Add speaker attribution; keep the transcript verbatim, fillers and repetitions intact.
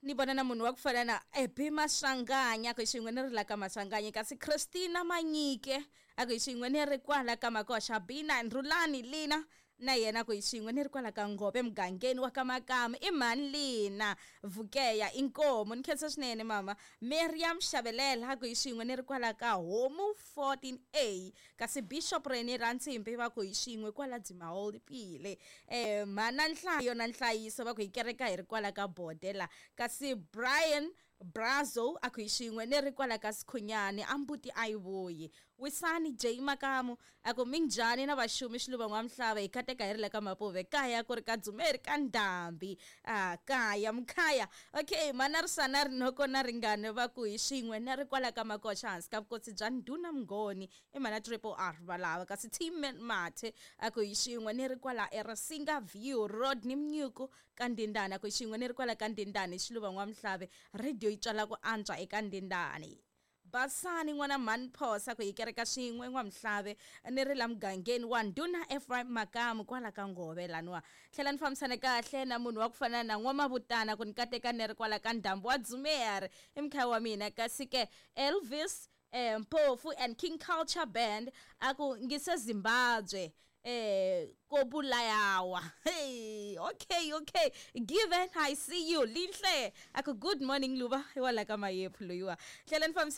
Speaker 1: Ni vona na munhu wa ku fana na Ebi Maswanganya, ku hi xin'we ni ri la ka Maswanganya. Kasi Christina Manyike a ku hi xin'we ni ri kwala ka Makoxa. Bina Ndrulani Lina na yena ku hi xin'we ni ri kwala ka Nghobe mugangeni wa ka Makama. I mhani Lina Vukeya inkomu, ni khensa swinene mama. Miriam Xavelela ku hi xin'we ni ri kwala ka Homu fourteen A. Kasi Bishop Rene Rantsimbi va ku hi xin'we kwala Dzimahold Pile. Eh, mhana Nhlayo na Nhlayiso va ku hi kereka hi ri kwala ka Bodela. Kasi Brian Brazo a ku hi xin'we ni ri kwala ka Sikhunyani, a mbuti a yi vuyi. Wisani J Makamu a ku minjhani na vaxumi Xiluva N'wamhlava, hi kateka hi ri la ka Mapuve, kaya ku ri ka Dzumeri ka Ndhambi. Ah, kaya mkhaya. Okay, mana Risana Rinoko na Ringane va ku hi xin'we ni ri kwala ka Makoxa hansi ka vukosi bya Ndhuna Mngoni, i mana Triple R valava. Kasi Team Mathe a ku hi xin'we ni ri kwala eRasinga View Road ni Mnyuku ka Ndindani, a ku hi xin'we ni ri kwala ka Ndindani Xiluva N'wamhlave, radio yi tswala ku antswa eka Ndindani. Basani n'wana mhani Phosa ku hi kereka swin'we N'wamhlave ni ri la mugangeni wa Ndhuna Ephraim Makamu kwala ka Ngove laniwa. Tlhela ni fambisana kahle na munhu wa ku fana na N'wamavutana ku ni kateka ni ri kwala ka Ndhambi wa Dzumeri i mukhaya wa mina. Kasi ke Elvis eh, Mpofu and King Culture Band a ku ngise Zimbabwe eh kobulayawa. Hey, okay, okay. Given I see you Linhle. Aku good morning Luba. Wala ka Mayephu loyiwa. Tlhela ni fambisa